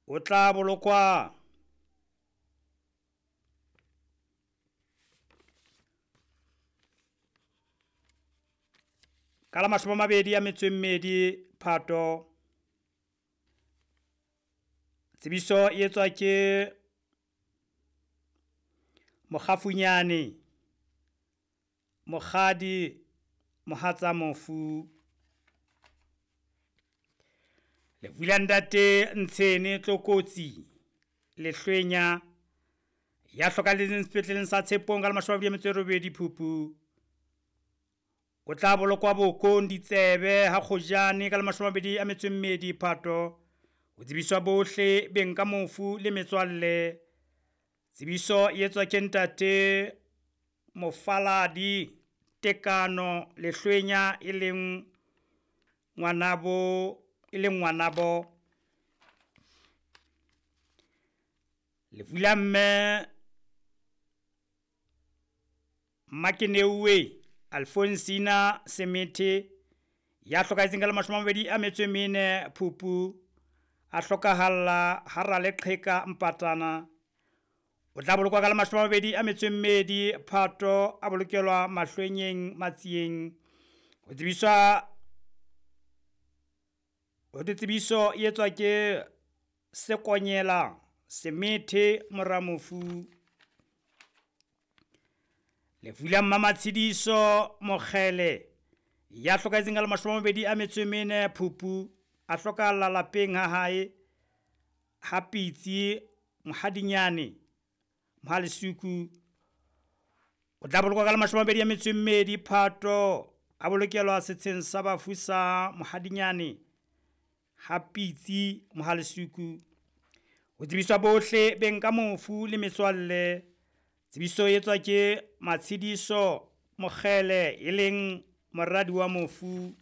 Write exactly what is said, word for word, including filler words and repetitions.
O tla bolokwa ka la mashome a mabedi a metso e mmedi Phato. Tsebiso e etswa ke Mokgafunyane Mokgadi mohatsa mofu. Lefu la ntate Ntshene Tlokotsi Lehlwenya ya hlokahalletseng sepetleleng sa Tshepong ka la mashome a mabedi a metso e robedi Phupu. O tla bolokwa bokong ditsebe ha kgojane ka la mashome a mabedi a metso e mmedi Phato. Ho tsebiswa bohle beng ka mofu le metswalle. Tsebiso e etswa ke ntate Mofaladi Tekano Lehlwenya e leng ngwanabo e leng ngwanabo. Lefu la mme Mmakeneuwe Alfonsina Semethe ya hlokahetseng ka la mashome a mabedi a metso e mene Phupu, a hlokahalla hara leqheka Mpatana. O tla bolokwa ka la mashome a mabedi a metso e mmedi Phato, a bolokelwa Mahlwenyeng Matsieng. Ho tsebiswa ho tsebiso e etswa ke Sekonyela Semethe mora mofu. Lefu la Mmamatshediso Mokgele ya hlokahetseng ka la mashome a mabedi a metso e mene Phupu, a hlokahalla lapeng ha hae ha Pitsi Mohadinyane Mohalisuku. O tla bolokwa ka la mashome a mabedi a metso e mmedi Phato, a bolokelwa setsheng sa bafu sa Mohadinyane ha Pitsi Mohalisuku. Ho tsebiswa bohle beng ka mofu le metswalle. Tsebiso e etswa ke Matshediso Mokgele e leng moradi wa mofu.